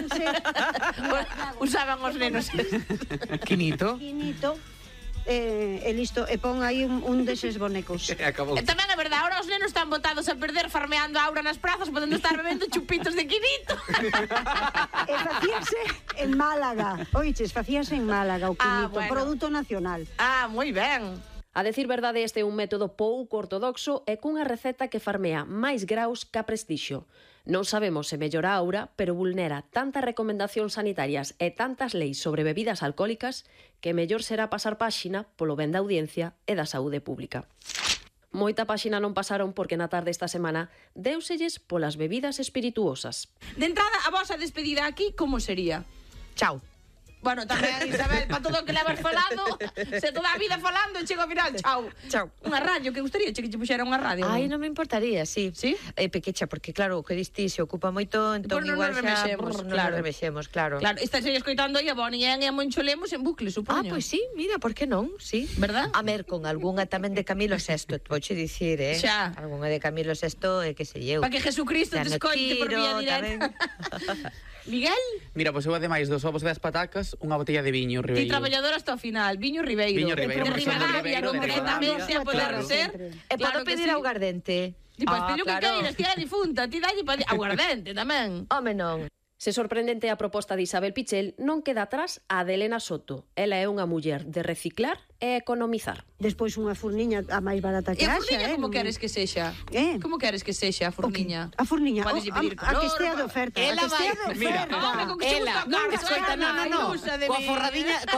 facíanse... Usaban os nenos. Quinito. E listo, e pon aí un deses bonecos. Acabou. E tamén é verdade, ahora os nenos están botados a perder farmeando a aura nas prazas, podendo estar bebendo chupitos de quinito. E facíanse en Málaga. Oiches, facíanse en Málaga o quinito, bueno. produto nacional. Ah, moi ben. A decir verdade, este é un método pouco ortodoxo e cunha receta que farmea máis graus ca prestixio. Non sabemos se mellora a aura, pero vulnera tantas recomendacións sanitarias e tantas leis sobre bebidas alcohólicas que mellor será pasar páxina polo ben da audiencia e da saúde pública. Moita páxina non pasaron porque na tarde esta semana déuselles polas bebidas espirituosas. De entrada, a vosa despedida aquí, como sería? Chao. Bueno, tamén, Isabel, para todo o que levas falando, se toda a vida falando, chego ao final, chao. Chao. Unha radio, que gustaría che puxera unha radio? Ai, non me importaría, sí. Sí? Pequecha, porque claro, o que diste se ocupa moito, entón Pois non igual nos xa remexemos, non claro. nos remexemos, claro. Claro, esta sería escoitando aí a Bonnie e a Moncho Lemos en bucle, supoño. Pois sí, mira, por que non? Sí. ¿Verdad? A ver, con algunha tamén de Camilo VI, vouche dicir, Xa. Algunha de Camilo VI, que sei eu. Para que Jesucristo te escoite por vía directa. Miguel? Mira, pois eu ademais dos ovos e das patacas, unha botella de viño Ti Ribeiro. traballador hasta o final, Viño Ribeiro. Viño Ribeiro, De porque son de Ribadavia, Ribeiro, de concretamente, Ribadavia. a poder Claro. ser. E Claro podo que pedir sí. aguardente? Ti podes pedir o que claro. queiras, ti era difunta, ti dalle aguardente tamén. Home, non. Se sorprendente a proposta de Isabel Pichel, non queda atrás a de Elena Soto. Ela é unha muller de reciclar e economizar. Despois unha furniña a máis barata que E a haxa, furniña como queres que sexa? Como queres que sexa a furniña? A furniña, Podes pedir a que color, estea de oferta, ela a que estea vai- de Mira, oferta. Home, con que che Ela, gusta non, carne, escoita, Ana, no. ilusa de Coa mí.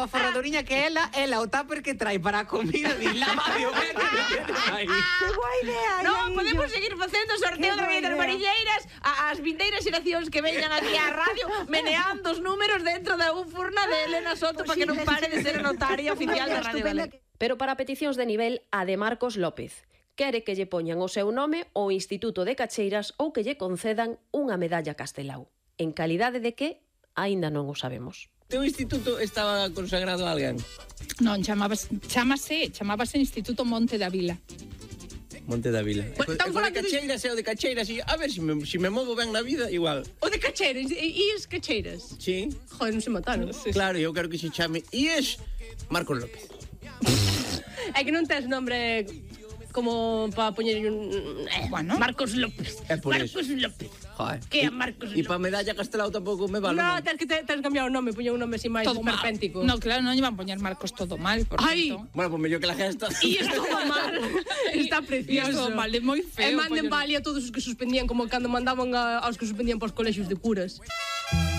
forradoriña que ela o tupper que trae para a comida de la Mario Que boa idea, Non, Iaillo. podemos seguir facendo sorteo Que de boa das idea. varilleiras as vindeiras xeracións que veñan aquí á radio meneando os números dentro da furna de Elena Soto para que non pare de ser a notaria oficial da Radio Galega. Pero para peticións de nivel, a de Marcos López. Quere que lle poñan o seu nome ao Instituto de Cacheiras ou que lle concedan unha medalla Castelao. En calidade de que, aínda non o sabemos. Teu instituto estaba consagrado a alguén? Non, chamábase Instituto Monte da Vila. Monte da Vila. Bueno, E estamos co de falando de- Cacheiras e o de Cacheiras, e a ver se me movo ben na vida, igual. O de Cacheiras, e as Cacheiras? Sí, Joder, non se mataron. claro, eu quero que se chame IES Marcos López. É que non tes nombre como para poñer un... Bueno. Marcos López. É por Marcos eso. López. Joder. Que é Marcos E López? para medalla Castelao tampouco me vale. No, non? tens que cambiar o nome, poñer un nome así máis Todo mal. esperpéntico. No, claro, non iban a poñer Marcos todo mal, por Ai. tanto. Bueno, pues mellor que la gesta. E es todo mal. Está E precioso. es todo mal, é moi feo. E manden poñer- vale a todos os que suspendían, como cando mandaban aos que suspendían para os colexios de curas.